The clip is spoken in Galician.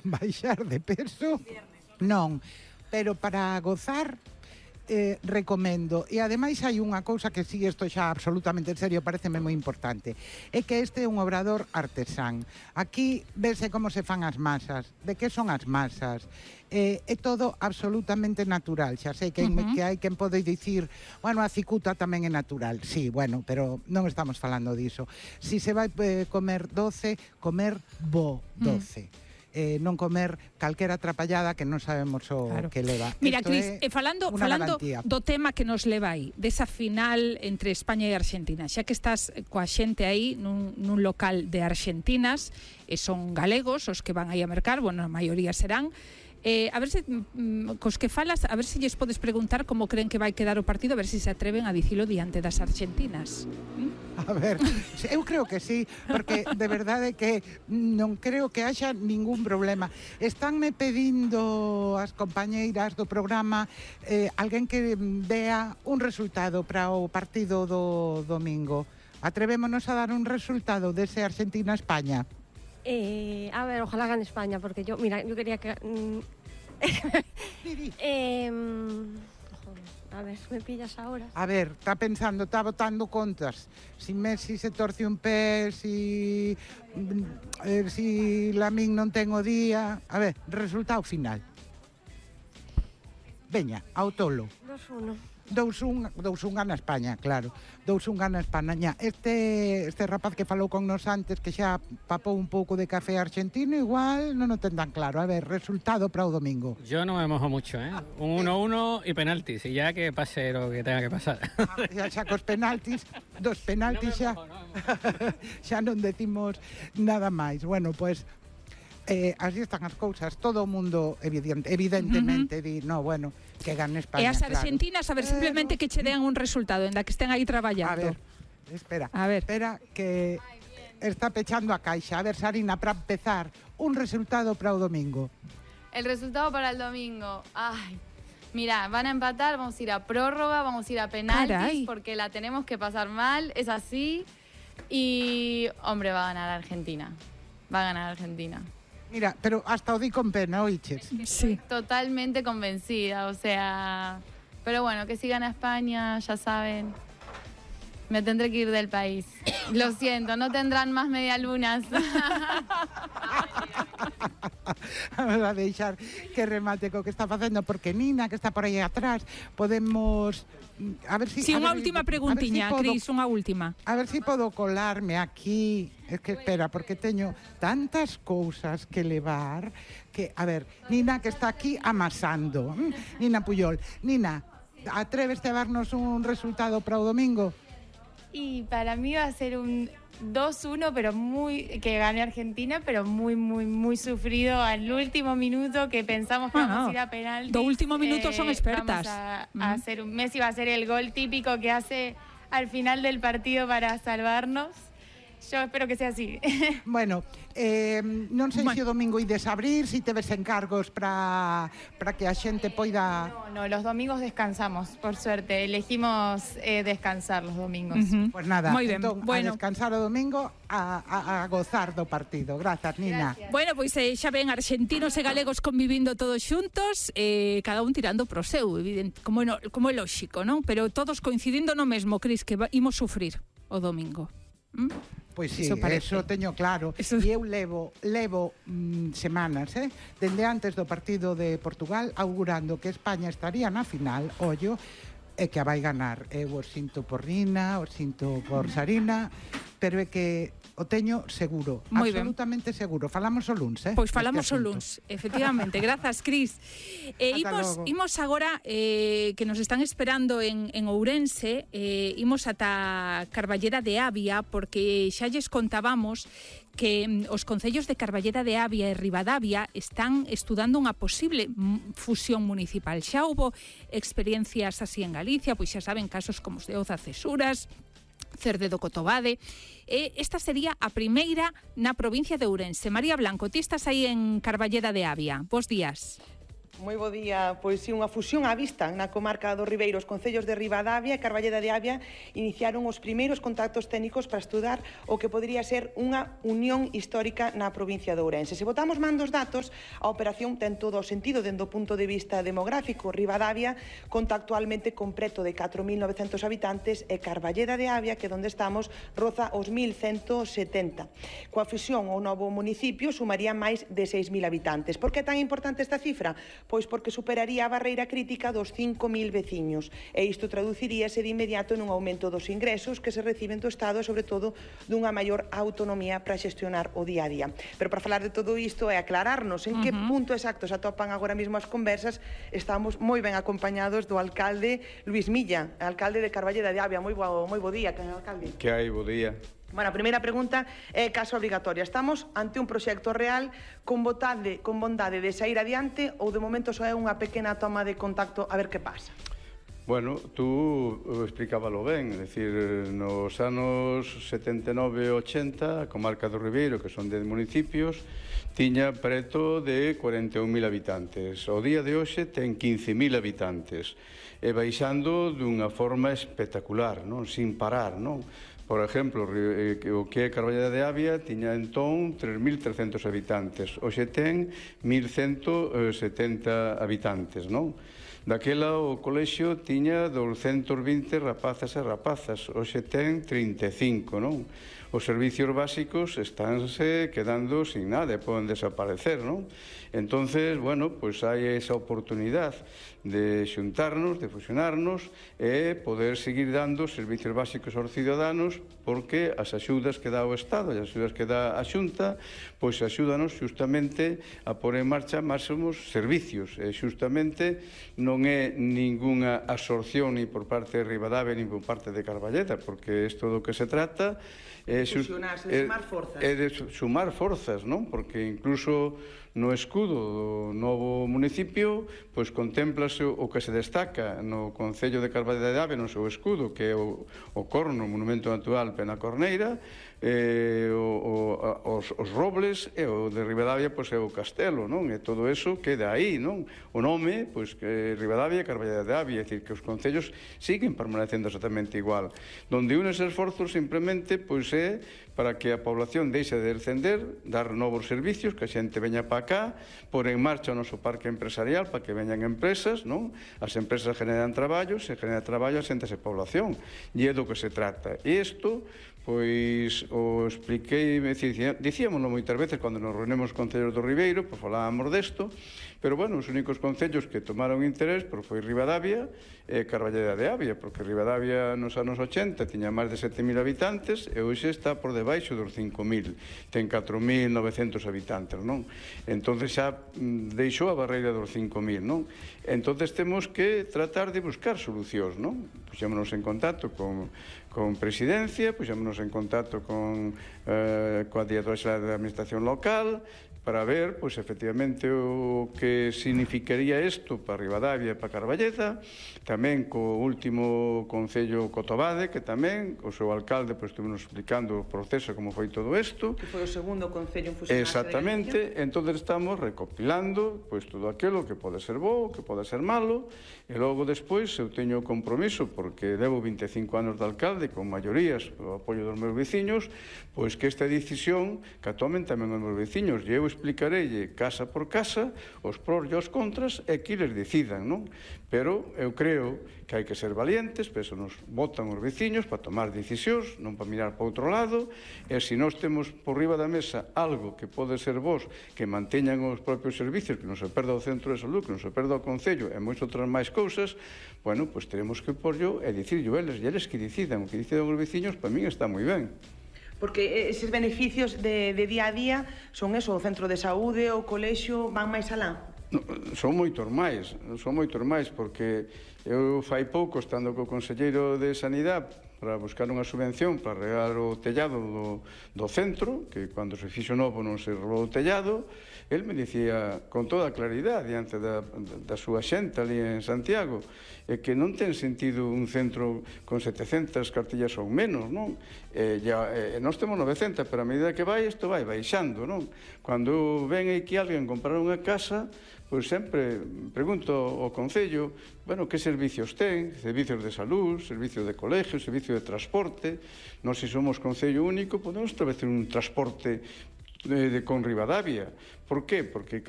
baixar de peso, non, pero para gozar recomendo. E ademais hai unha cousa que si isto xa absolutamente en serio pareceme moi importante, é que este é un obrador artesán. Aquí vese como se fan as masas, de que son as masas, é todo absolutamente natural. Xa sei que hai quen pode dicir, bueno, a cicuta tamén é natural. Sí, bueno, pero non estamos falando diso. Si se vai comer doce, comer bo doce. Non comer calquera atrapallada que non sabemos o que leva. Mira, Cris, falando do tema que nos leva aí, desa final entre España e Argentina, xa que estás coa xente aí nun local de argentinas, e son galegos os que van aí a mercar, bueno, a maioría serán, a ver se cos que falas, a ver se lles podes preguntar como creen que vai quedar o partido, a ver se se atreven a dicilo diante das argentinas. A ver, eu creo que sí, porque de verdade que non creo que haxa ningún problema. Estánme pedindo as compañeiras do programa alguén que dea un resultado para o partido do domingo. Atrevémonos a dar un resultado dese Argentina-España. A ver, ojalá gane España, porque yo quería que... a ver, me pillas ahora. A ver, está pensando, está botando contas. Si Messi se torce un pé, si Lamine non ten o día... A ver, resultado final. Veña, ao tolo. 2-1. 2-1 gana España, claro. 2-1 gana España. Este rapaz que falou con nos antes, que xa papou un pouco de café argentino, igual non o ten tan claro. A ver, resultado para o domingo. Yo no me mojo mucho, un 1-1 y penaltis, y ya que pase lo que tenga que pasar. Xa cos penaltis, dos penaltis xa. Xa non decimos nada máis. Bueno, pues así están as cousas. Todo o mundo evidentemente di, no, bueno, que gane España. E as argentinas, a ver, simplemente que che dean un resultado, en la que estén aí traballando. A ver, espera que está pechando a caixa. A ver, Sarina, para empezar, un resultado para o domingo. El resultado para el domingo, ay, mira, van a empatar, vamos a ir a prórroga, vamos a ir a penaltis, porque la tenemos que pasar mal, es así, y, hombre, va a ganar Argentina. Mira, pero hasta o di con pena, oiches. Sí. Totalmente convencida, o sea... Pero bueno, que si gana España, ya saben, me tendré que ir del país. Lo siento, no tendrán más medialunas. Vamos a deixar que remate co que está facendo, porque Nina, que está por aí atrás, podemos... A ver si... Sí, unha última preguntiña, Cris, unha última. A ver si podo colarme aquí. Es que espera, porque teño tantas cousas que levar que, a ver, Nina, que está aquí amasando. Nina Puyol. Nina, atréveste a darnos un resultado para o domingo? Y para mí va a ser un 2-1, pero que gane Argentina, pero muy, muy, muy sufrido al último minuto, que pensamos que vamos a ir a penaltis. Do último minuto son expertas. Vamos a hacer Messi va a hacer el gol típico que hace al final del partido para salvarnos. Yo espero que sea así. Bueno, non sei se o domingo ides abrir, se teves encargos para que a xente poida... No, los domingos descansamos, por suerte. Elegimos descansar los domingos. Pues nada, entón, a descansar o domingo, a gozar do partido. Grazas, Nina. Gracias. Bueno, pois xa ven argentinos e galegos convivindo todos xuntos, cada un tirando pro seu, como é lóxico, non? Pero todos coincidindo no mesmo, Cris, que imos sufrir o domingo. Pois sí, eso teño claro. E eu levo semanas, dende antes do partido de Portugal, augurando que España estaría na final, ollo, e que a vai ganar. Eu o sinto por Nina, o sinto por Sarina, pero é que o teño seguro, absolutamente seguro. Falamos o luns, Pois falamos o luns, efectivamente. Grazas, Cris. Imos agora, que nos están esperando en Ourense, imos ata Carballeda de Avia, porque xa lles contábamos que os concellos de Carballeda de Avia e Ribadavia están estudando unha posible fusión municipal. Xa houbo experiencias así en Galicia, pois xa saben, casos como os de Oza Cesuras, Cerde do Cotobade. Esta sería a primeira na provincia de Ourense. María Blanco, ti estás aí en Carballeda de Avia. Bos días. Moi bo día. Pois si, unha fusión á vista na comarca do Ribeiro. Os concellos de Ribadavia e Carballeda de Avia iniciaron os primeiros contactos técnicos para estudar o que podría ser unha unión histórica na provincia de Ourense. Se botamos man dos datos, a operación ten todo o sentido dende o punto de vista demográfico. Ribadavia conta actualmente con preto de 4.900 habitantes e Carballeda de Avia, que é onde estamos, roza os 1.170. Coa fusión o novo municipio sumaría máis de 6.000 habitantes. Por que é tan importante esta cifra? Pois porque superaría a barreira crítica dos 5.000 veciños e isto traduciríase de inmediato nun aumento dos ingresos que se reciben do Estado e, sobre todo, dunha maior autonomía para xestionar o día a día. Pero para falar de todo isto e aclararnos en que punto exacto se atopan agora mesmo as conversas, estamos moi ben acompañados do alcalde Luís Milla, alcalde de Carballeda de Avia. Moi bo día, alcalde. Que hai, bo día. Bueno, a primeira pregunta é caso obrigatoria. Estamos ante un proxecto real con bondade de sair adiante ou de momento só é unha pequena toma de contacto a ver que pasa? Bueno, tú explicábalo ben, é dicir, nos anos 79 e 80, a comarca do Ribeiro, que son 10 municipios, tiña preto de 41.000 habitantes. O día de hoxe ten 15.000 habitantes, e baixando dunha forma espectacular, non? Sin parar, non? Por exemplo, o que é Carballeda de Avia tiña entón 3.300 habitantes, hoxe ten 1.170 habitantes, non? Daquela o colexio tiña 220 rapazas e rapazas, hoxe ten 35, non? Os servicios básicos estánse quedando sin nada e poden desaparecer, non? Entonces, bueno, pois hai esa oportunidade de xuntarnos, de fusionarnos e poder seguir dando servicios básicos aos ciudadanos, porque as axudas que dá o Estado e as axudas que dá a Xunta pois axúdanos xustamente a pôr en marcha máximos servicios, e xustamente non é ningunha absorción ni por parte de Ribadavia ni por parte de Carballeda, porque isto do que se trata é de sumar forzas, non? Porque incluso no escudo do novo municipio pois contémplase o que se destaca no Concello de Carballeda de Avia no seu escudo, que é o corno, o monumento natural Penacorneira, os robles, e o de Ribadavia pois é o castelo, non? E todo eso queda aí, non? O nome, pois, que Ribadavia e Carballeda de Avia, é dicir, que os concellos siguen permanecendo exactamente igual. Donde unes esforzos simplemente pois é para que a población deixe de descender, dar novos servicios, que a xente veña para cá, pôr en marcha o noso parque empresarial para que veñan empresas, non? As empresas generan traballo, se genera traballo, asentase población, e é do que se trata. E isto, pois, o expliquei, dicíamoslo moitas veces cando nos reunimos con concellos do Ribeiro, pois falábamos desto, pero, bueno, os únicos concellos que tomaron interés pois foi Ribadavia e Carballeda de Avia, porque Ribadavia nos anos 80 tiña máis de 7.000 habitantes e hoxe está por debaixo dos 5.000, ten 4.900 habitantes, non? Entón xa deixou a barreira dos 5.000, non? Entón temos que tratar de buscar solucións, non? Puxémonos en contacto con Presidencia, puxémonos en contacto coa Directora Xeral da Administración Local, para ver, pois, efectivamente, o que significaría isto para Ribadavia e para Carballeda, tamén co último Concello Cotobade, que tamén, o seu alcalde, pois, estuvimos explicando o proceso, como foi todo isto. Que foi o segundo Concello en fusionarse. Exactamente, entón estamos recopilando, pois, todo aquilo que pode ser bo, que pode ser malo, e logo despois eu teño o compromiso, porque levo 25 anos de alcalde, con maiorías, o apoio dos meus veciños, pois que esta decisión que tomen tamén os meus veciños, e eu explicareille casa por casa os pros e os contras e que eles decidan, non? Pero eu creo que hai que ser valientes, pero eso nos votan os veciños para tomar decisións, non para mirar para outro lado, e se nós temos por riba da mesa algo que pode ser vos, que manteñan os propios servicios, que non se perda o centro de salud, que non se perda o concello e moitas outras máis cousas, bueno, pois teremos que porlo e dicirlo eles, e eles que decidan, o que decidan os veciños, para min está moi ben. Porque eses beneficios de día a día son eso, o centro de saúde, o colexio, van máis alá? Son moitos máis, porque eu fai pouco, estando co conselleiro de Sanidade, para buscar unha subvención para arreglar o tellado do centro, que cando se fixo novo non se arreglou o tellado, el me dicía con toda claridade diante da súa xente ali en Santiago, que non ten sentido un centro con 700 cartillas ou menos, non? Nós temos 900, pero a medida que vai, isto vai baixando, non? Cando ven aquí alguén comprar unha casa, pois sempre pregunto ao Concello, bueno, que servicios ten, servicios de salud, servicios de colegio, servicio de transporte. Nós, se somos Concello único, podemos establecer un transporte con Ribadavia. Por qué? Porque